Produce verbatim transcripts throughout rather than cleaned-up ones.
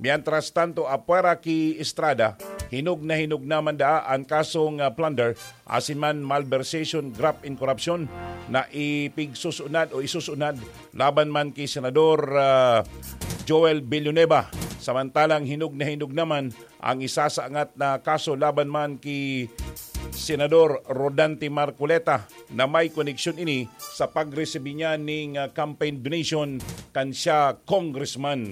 Mientras tanto, apwera ki Estrada, hinog na hinog naman daa an kasong, ah, plunder asin man malversation, graft and corruption na ipigsusunad o isusunad laban man ki Senador, ah, Joel Villanueva. Samantalang hinog na hinog naman ang isasaangat na kaso laban man ki Senador Rodante Marcoleta na may koneksyon ini sa pagresibi niya ning, ah, campaign donation kan siya congressman.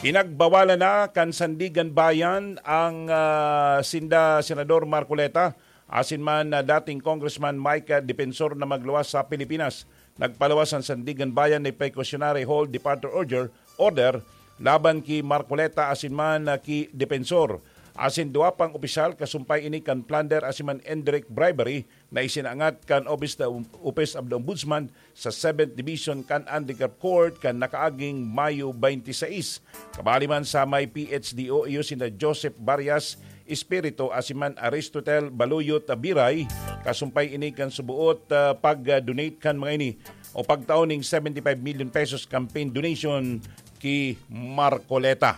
Pinagbawalan na kan Sandigan Bayan ang, ah, sinda Senador Marcoleta asin man, ah, dating Congressman Mike, ah, Defensor na magluwas sa Pilipinas. Nagpaluwas an Sandigan Bayan ni precautionary hold departure order, order laban ki Marcoleta asin man, ah, ki Defensor. Asin duwa pang opisyal kasumpay ini kan plunder asin man indirect bribery na isinangat kan Office, the Office of the Ombudsman sa Seventh Division kan Anti-Graft Court kan nakaaging Mayo twenty-six. Kabali man sa may P H D O, iyo sina Joseph Varias Espiritu asin man Aristotel Baluyot Biray, kasumpay ini kan subuot, ah, pag-donate kan mga ini o pagtao ning seventy-five million pesos campaign donation ki Marcoleta.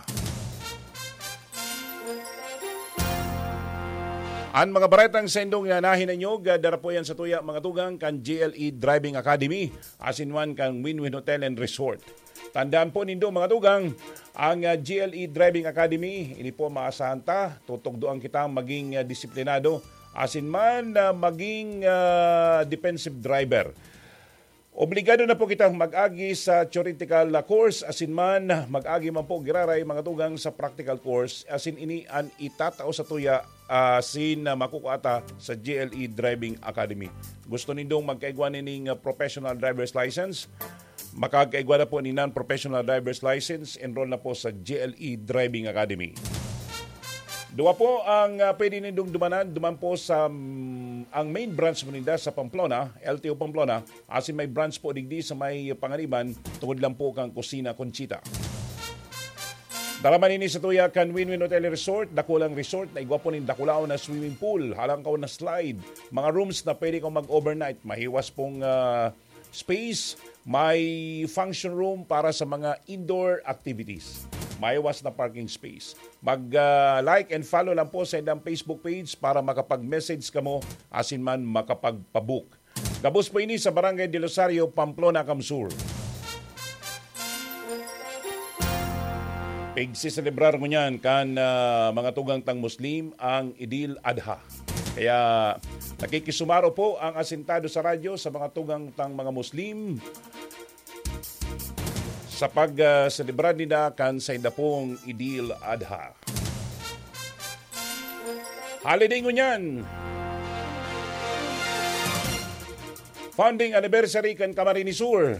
An mga baretang saindong na nahinanyog, ah, dara po yan sa tuya, mga tugang, kan G L E Driving Academy, asin man kan Win-Win Hotel and Resort. Tandaan po nindo, mga tugang, ang, ah, G L E Driving Academy, ini po maasahan ta, tutugdoan kita maging, ah, disiplinado, asin man, ah, maging, ah, defensive driver. Obligado na po kitang mag-agi sa theoretical course, asin man mag-agi man po giraray, mga tugang, sa practical course, asin ini an itatao sa tuya, asin na makukua ta sa G L E Driving Academy. Gusto nindong magkaigwa nining, ah, professional driver's license? Makakaigwa na po ni non-professional driver's license, enroll na po sa G L E Driving Academy. Duwa po ang, ah, pwede nindong dumanan, duman po sa, mm, ang main branch mo ninda sa Pamplona, L T O Pamplona, asin may branch po digdi sa may Panganiban, tungod lang po kang Kusina Conchita. Dara man ini sa tuya kan Win-Win Hotel Resort, dakulang resort na igwa po nin dakulaon na swimming pool, halangkaw na slide, mga rooms na pwede kang mag-overnight, mahiwas pong, ah, space, may function room para sa mga indoor activities. Mahiwas na parking space. Mag, ah, like and follow lang po sa indang Facebook page para makapag-message kamo asin man makapagpabook. Gabos po ini sa Barangay del Rosario, Pamplona, Camsur. Pigsiselebrar ngunyan kan, ah, mga tugang tang Muslim ang Idil Adha. Kaya nakikisumaro po ang Asintado sa Radyo sa mga tugang tang mga Muslim sa pag, ah, selebrar ninda kan sainda pong Idil Adha. Holiday ngunyan. Founding anniversary kan Camarines Sur.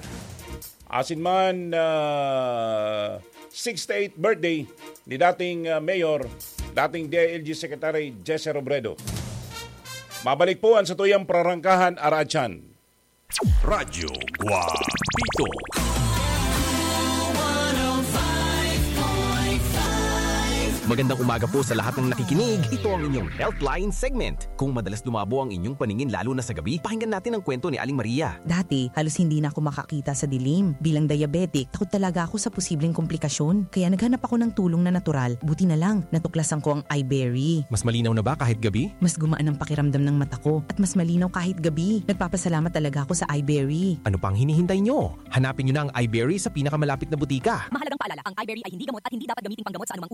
Asin man, ah, sixty-eighth birthday ni dating, ah, mayor, dating D I L G Secretary Jesse Robredo. Mabalik po ang satuyang prarangkahan, Aratsan. Radyo Guapito. Magandang umaga po sa lahat ng nakikinig. Ito ang inyong Healthline segment. Kung madalas lumabo ang inyong paningin lalo na sa gabi, pakinggan natin ang kwento ni Aling Maria. Dati, halos hindi na ako makakita sa dilim. Bilang diabetic, takot talaga ako sa posibleng komplikasyon. Kaya naghanap ako ng tulong na natural. Buti na lang, natuklasan ko ang iBerry. Mas malinaw na ba kahit gabi? Mas gumaan ang pakiramdam ng mata ko at mas malinaw kahit gabi. Nagpapasalamat talaga ako sa iBerry. Ano pang hinihintay nyo? Hanapin nyo na ang iBerry sa pinakamalapit na butika. Mahalagang paalala, ang iBerry ay hindi gamot at hindi dapat gamiting panggamot sa anumang uri